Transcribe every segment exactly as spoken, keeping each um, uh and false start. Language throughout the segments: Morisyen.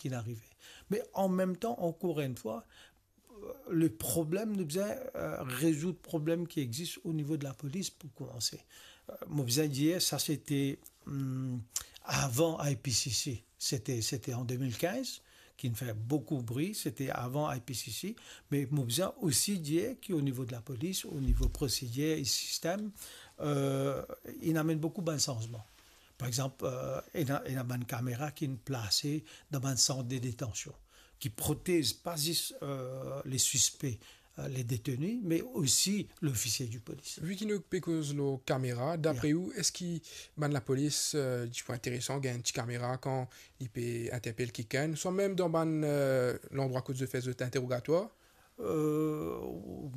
ki'nn arive. Me an mem tan, ankor enn fwa, euh, le problem, nou bizin, euh, rezoud problem ki existe au niveau de la police pou koumanse. Euh, mo bizin dir, sa sete, hmm, avan I P C C. Sete, sete an de mil kinz, ki'nn fer boukou bri, sete avan I P C C, me mo bizin osi dir ki o nivo de la polis, o nivo prosidir e sistem, euh, inn amenn boukou bann sanzman. Par exanp, euh, ena, ena bann kamera ki'nn plase dan bann sant de detansion, ki protez pa zis, euh, le sispe, euh, le deteni, me osi lofisie de polis. Vi ki nou pe koz lor kamera, dapre ou, eski bann lapolis, euh, ti pou interesan gagn enn ti kamera kan li pe interpel kikenn, swa mem dan bann, euh, landrwa kot zot fer zot interogatwar? Euh,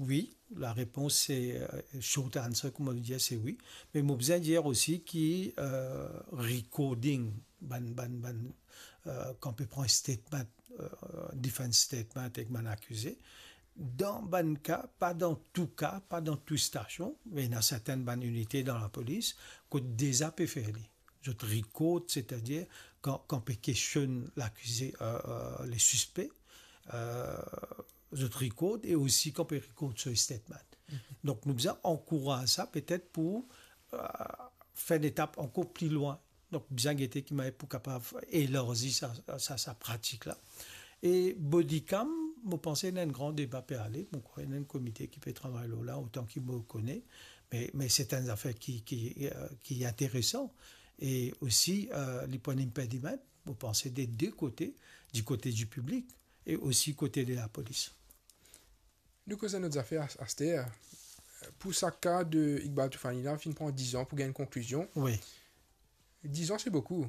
wi, larepons se, euh, short answer, kouma nou dir, se wi. Me mo bizin dir osi ki, euh, recording, bann, bann, bann, euh, kan pe pran statement, euh, defense statement ek bann akize, dan bann ka, pa dan tou ka, pa dan tou stasion, me ena sertin bann inite dan lapolis, kot deza pe fer li. Zot record, setadir kan, kan pe kestionn lakize, euh, euh, le sispe, euh, zot record e osi kan pe record so statement. Mhm. Donk, nou bizin ankouraz sa, petet pou, euh, fer enn etap ankor pli lwin. Donk, bizin gete ki manier pou kapav elarzi sa, sa, sa pratik la. E body cam, mo panse ena enn gran deba pe ale, mo krwar ena enn komite ki pe travay lor la, otan ki mo kone, me, me se enn zafer ki, ki, euh, ki interesan. E osi, euh, li pou enn impediment, mo panse, de de kote, di kote di piblik e osi kote de lapolis. Nou koz enn lot zafer as-, aster. Pou sa ka de Iqbal Toufani la, finn pran diz an pou gagn konklizion. Wi. Diz an, se boukou.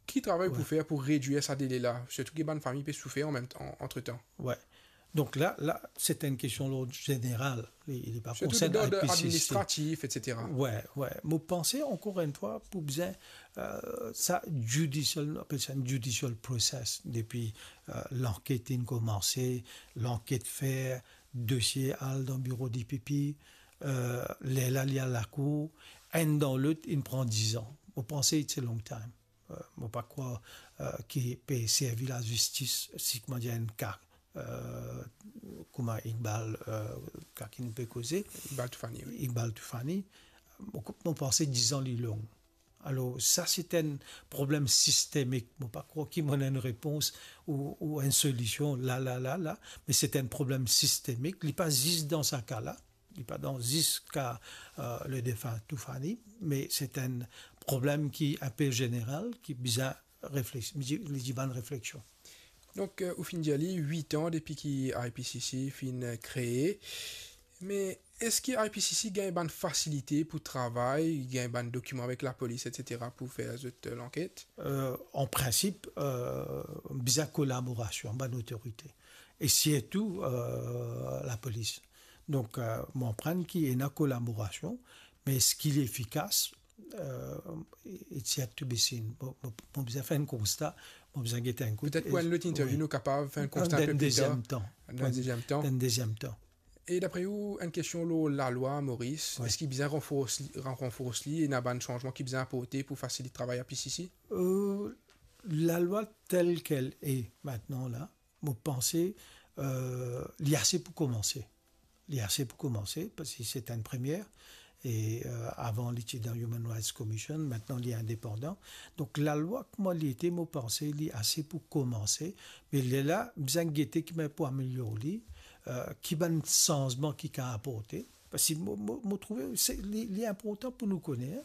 Ki travay pou fer pou redwir sa dele la? Sirtou ki bann fami pe soufer an mem tan, antretan. Wi. Donk la, la, se enn kestion lord zeneral. Li, li pa konsern I P C C. Sirtou lord administratif, etsetera. Wi, wi. Mo panse, ankor enn fwa, pou bizin, euh, sa judicial, nou apel sa enn judicial process, depi, euh, lanket inn koumanse, lanket fer, dosie al dan biro D P P, euh, lerla li al lakour, enn dan lot, inn pran diz an. Mo panse it's a long time. Euh, mo pa krwar, euh, ki pe servi lazistis, si, kouma dir, enn ka, euh, kouma Iqbal, euh, ka ki nou pe koze. Iqbal Toufani, wi. Iqbal Toufani. Mo, mo panse diz an li long. Alor, sa se enn problem sistemik. Mo pa krwar ki mo ena enn repons ou, ou enn solision la, la, la, la, me se enn problem sistemik. Li pa zis dan sa ka la. Li pa dan zis ka, euh, le defin Toufani, me se enn problem ki inpe zeneral, ki bizin reflex-, li, li dimann refleksion. Donk, euh, ou finn dir li, wit an depi ki I P C C finn, euh, kree. Me eski I P C C gagn bann fasilite pou travay, gagn bann dokiman avek lapolis, etsetera, pou fer zot, euh, lanket? Euh, an prinsip, euh, bizin kolaborasion bann otorite. E sirtou, euh, lapolis. Donk, euh, mo konpran ki ena kolaborasion, me eski li efikas, euh, it's yet to be seen. Mo, mo, mo bizin fer enn konsta, mo bizin get enn kout. Petet pou enn lot interview, wi, nou kapav fer enn konsta enn pe pli tar. Dan enn deziem tan. Dan enn deziem tan. Dan enn deziem tan. E dapre ou, enn kestion lor lalwa Moris, wi, eski bizin ranfors li, ran-, ranfors li, ena bann sanzman ki bizin aporte pou fasilit travay I P C C? Euh, lalwa tel kel e mintnan la, mo panse, euh, li ase pou koumanse. Li ase pou koumanse, parski se enn premie. E, euh, avan, li ti dan Human Rights Commission, mintnan, li indepandan. Donk, lalwa, kouma li ete, mo panse, li ase pou koumanse. Me lerla, bizin gete ki manier pou amelior li, euh, ki bann sanzman ki kav aporte. Parski mo, mo, mo trouve, se, li, li inportan pou nou kone,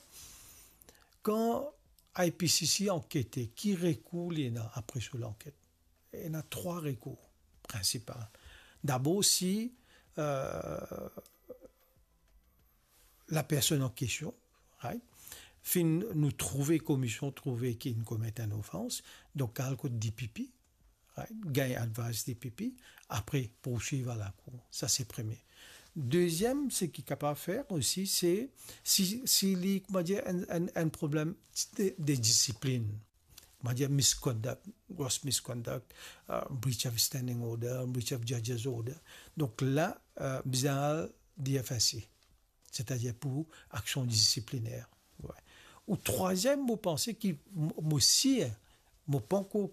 kan I P C C ankete, ki rekour li ena apre so lanket? Ena trwa rekour prinsipal. Dabor, si, euh, lapersonn an kestion, right, finn nou trouve, komisyon trouve ki inn komet enn ofans, donk al kot D P P, right, gagn advice D P P, apre poursuiv a lakour. Sa se premie. Deziem, seki kapav fer osi, se si, si li, koumadir, enn, enn, enn problem de, de disiplin. Koumadir, misconduct, gross misconduct, euh, breach of standing order, breach of judge's order. Donk la, euh, bizin al D F S C, setadir pou aksion disipliner. Wi. Ou trwaziem, mo panse ki, mo, mo sir, mo pankor